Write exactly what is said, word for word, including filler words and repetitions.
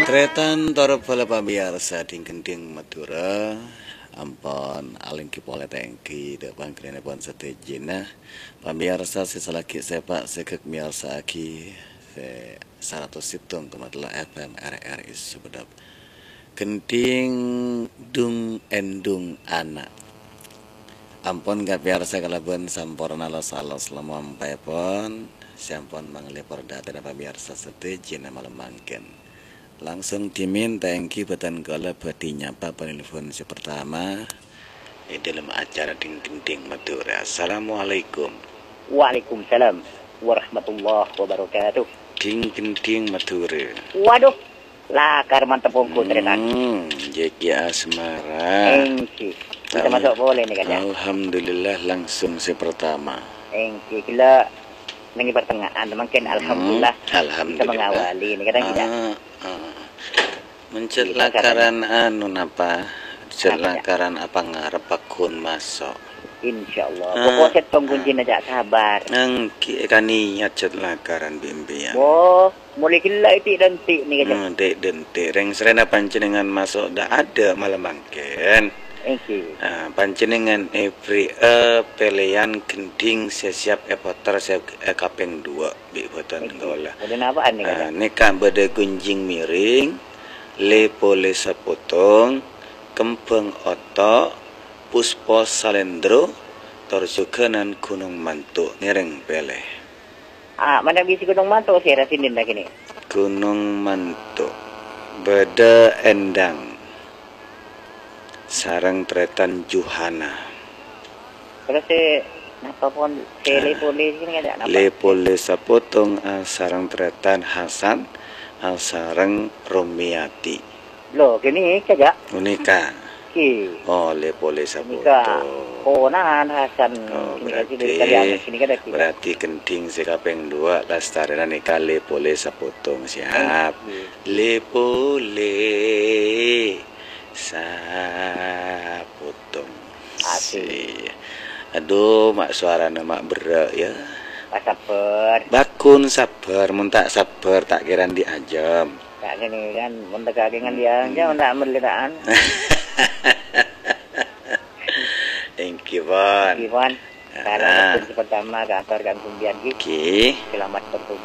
Tarètan tor bhâlâ pamèyarsa dhing-gendhing Madhurâ, ampon alèngghi polè ta' èngghi dâ' pangghâliyânèpon sadhâjâna. Pamèyarsa sè salaghi sèpa' sè ghâk mèyarsa'aghi sè saratos sèttong koma tello F M R R I Sumenep. Gendhing Dung Endung Ana'. Ampon kapèyarsa kalabân samporna los-alos lamompaèpon, sè ampon mangaleppor dâteng pamèyarsa sadhâjâna malem mangkèn. Langsung dhimèn ta' èngghi bhâdhân kaulâ bhâdhi nyapa panelpon sè partama è dâlem acara Dhing-Gendhing Madhurâ. Assalamualaikum. Waalaikumsalam warahmatullahi wabarakatuh. Dhing-Gendhing Madhurâ. Waduh, lakar mantep ongghu, tarètan. Hmm, Jeki Asmara. Èngghi. Kita Al-, masuk polè nèka, Cak. Alhamdulillah, langsung sè partama. Èngghi, ghellâ' neng è pertengahan, mangkèn Hmm, alhamdulillah bisa alhamdulillah. Mengawali nèka, kan, Cak. Ah, ah. Mencet Iya, lakaran anu napa? Mencet Apa, Cak? Lakaran apa ngarep pagghun maso'? Insyaallah. Ah, Pokok sèttong ah. Kuncina, Cak, sabar. Èngghi, èkaniat cet lakaran bi' empèyan. Wo, molaè ghellâ' è ti'-dânti' nèka, Cak. Hmm, ti'-dânti'. Rèng-sarèna panjhennengngan maso' dâ' adâ' malem mangkèn. Èngghi. Ah, panjhennengngan èberri'â pèlèyan gendhing sè siap èpoter sè, eh, kapèng duwâ'. Bi' bhâdhân Èngghi. Kaulâ. Bhâdhân apaan nèka, Ah, Cak? Nèka bâdâ gunjing miring, lè-polè sapotong, kembhâng oto', puspa salendro, tor jhughânan ghunong manto'. Ngèrèng pèlè. Ah, mana bisi ghunong manto' sè rasinèn lagi nè? Ghunong Manto'. Bâdâ Endang. Sareng tarètan Juhana. Terros sè napa pon sè Ah. lè-polè sè napa? Lè-polè sapotong, ah, sareng tarètan Hasan, ah, sareng Romiati. Lho, kènè' kajâ'. Unika. Ki. Oh, lè-polè Unika. Sapotong. Ponakan Hasan Oh, sini berarti, kasih dari kalian sini kan ada kita. Berarti gendhing sè kapèng duwâ' lastarèna nèka lè-polè sapotong. Siap. Èngghi. Lè-polè sapotong. Asik. Si. Aduh, ma' sowarana ma' berrâ', ya. Pas sabbhâr. Bâghun sabbhâr, mon ta' sabbhâr, ta' kèra andi' ajâm. Ta' kènè kan, mon ta' kakèngan dia, Hmm. ya, mon ta' mellèta'an. Èngghi, pon. Èngghi, pon. Ah. Salam sè pertama ka ator kan sampeyan, Ki. Ki. Selamat bertugas.